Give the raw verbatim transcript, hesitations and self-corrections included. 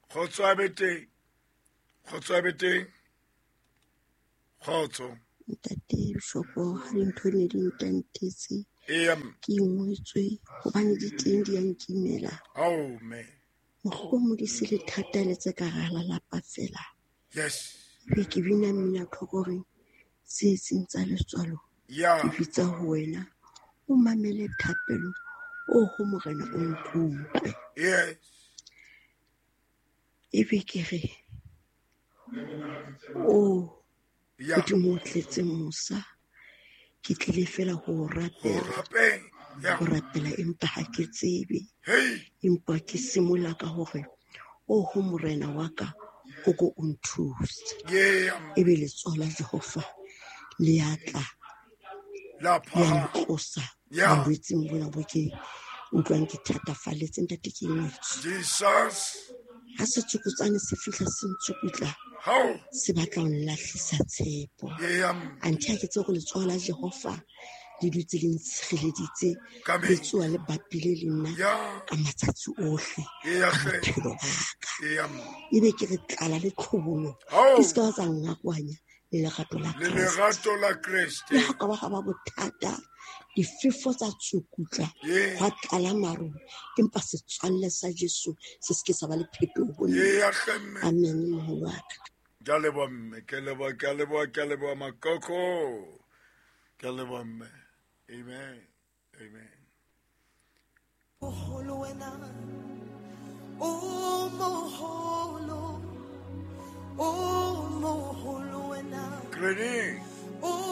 Kgotso a be teng. Kgotso a be teng. Kgotso. Ntate Bishopo, ha dintho ne di ntantetse. Eya mme. Ke ingwetswe hobane di teng di a nkimela. Ao mme. Mohlomong di se le thata le tse ka hara lelapa fela. Yes. Ebe ke bina mmino thoko hore tse seng tsa letswalo. Ya. Ke bitsa ho wena. O mamele thapelo o ho Morena o nkutlwe. Yes. Ebe ke re o Ya. Modimo o tletse mosa. Ke tlile fela ho o rapela. Ho rapela. Ya. Ho rapela empa ha ke tsebe. Hey. Empa ke simola ka hore o ho Morena wa ka o ko o nthuse. Yeah. Ebe letsoho la Jehova le a tla. La Le a phahama. ntlosa Yeah. bolwetseng bona bo ke utlwang ke thatafalletse ntate ke ingwetswe. Jesus. Ha setsokotsane se fihla se ntsukutla, How? se batla ho nlahlisa tshepo. Yeah. Anthe ha ke tsebe hore letsoho la Jehova le dutse le ntshireleditse, Ka le mehla. tsoha le bapile le nna Yeah. ka matsatsi ohle Yeah, a hle. bophelo ba ka. Yeah. Ebe ke re tlala le tlhobolo, How? di se ka tsa nngakanya le lerato la Le Kreste. lerato la Kreste. Le ha ka ba ha ba bothata, difefo tsa tsukutla, Yeah. hwa tlala maru, empa setswalle sa Jesu se se ke sa ba le phetoho ho nna. Yeah, hle, mme. Amen, moholo wa ka. Ke a leboha mme, ke a leboha, ke a leboha, ke a leboha makoko. Ke a leboha mme. Amen. Amen. Moholo wena, o moholo, o moholo wena. Granny. O